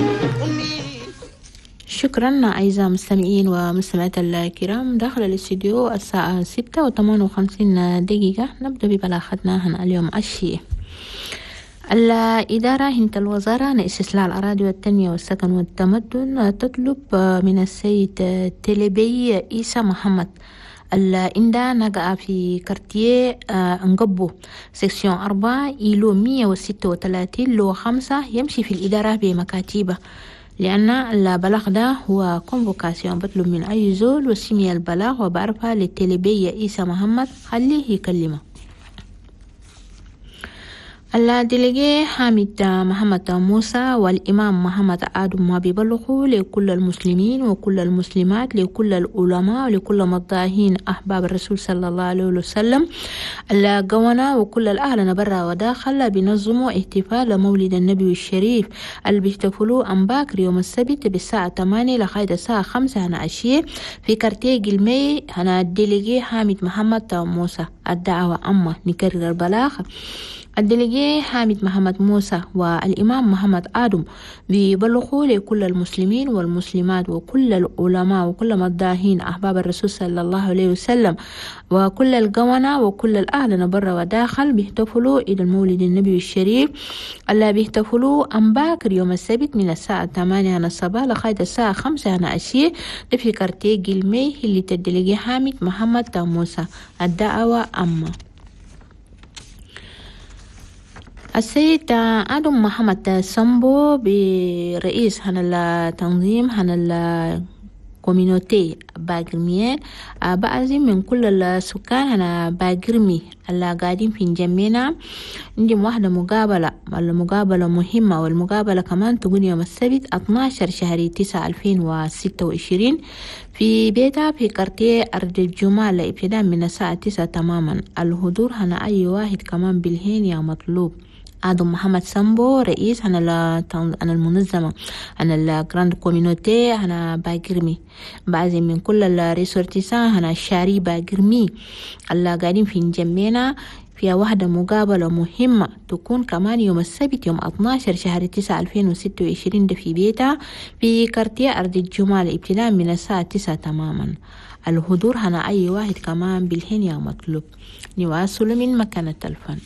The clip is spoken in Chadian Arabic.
أمي. شكرا أعزائي المستمعين ومستمعات الكرام. داخل الاستديو الساعة 6:58. نبدأ ببلاغتنا هنا اليوم الشيء. الإدارة هنت الوزارة لاستصلاح الأراضي والتنمية والسكن والتمدن تطلب من السيد تلبي إيسا محمد الإندا نقع في quartier انقبو section 4 îlot 136 lot 5 يمشي في الإدارة بمكاتبة، لأن البلاغ ده هو convocation بطلب من أي زول وسمي البلاغ وبعرفها للتلبية إيسا محمد خليه يكلمه. ال délégué حامد محمد موسى والإمام محمد آدم ما بيبلغوا لكل المسلمين وكل المسلمات، لكل العلماء ولكل مداهين أحباب الرسول صلى الله عليه وسلم القوانا وكل الأهل برا وداخل بينظموا احتفال مولد النبي الشريف اللي بيحتفلوا أمباكر يوم السبت بالساعة 8 لغاية الساعة 5 هنا عشية في quartier قلمي هنا ال délégué حامد محمد موسى. الدعوة أما نكرر البلاغ. ال délégué حامد محمد موسى والإمام محمد آدم بيبلغوا لكل المسلمين والمسلمات وكل العلماء وكل مداهين أحباب الرسول صلى الله عليه وسلم وكل القوانا وكل الأهل برا وداخل بيحتفلوا إلى المولد النبي الشريف اللي بيحتفلوا أمباكر يوم السبت من الساعة 8 الصباح لغاية الساعة 5 عشية في quartier قلمي اللي ال délégué حامد محمد موسى. الدعوة أما. السيد آدم محمد سامبو برئيس هنا التنظيم هنا ال communauté باقرميين بعزم من كل السكان هنا باقرمي اللي قاعدين في جمينا عندهم واحدة مقابلة، المقابلة مهمة، والمقابلة كمان تكون يوم السبت 12/9/2026 في بيتها في quartier أرض الجمال ابتداء من الساعة 9 تماما. الحضور هنا أي واحد كمان بالهين يا مطلوب. آدم محمد سامبو رئيس هنا المنظمة هنا ال grande communauté هنا باقرمي بعزم من كل ال ressortissants هنا الشاري باقرمي اللي قاعدين في نجمينا فيها واحدة مقابلة مهمة تكون كمان يوم السبت يوم 12/9/2026 ده في بيتها في quartier أرض الجمال ابتداء من الساعة 9 تماما. الحضور هنا أي واحد كمان بالهين يا مطلوب. نواصل من مكان التلفون.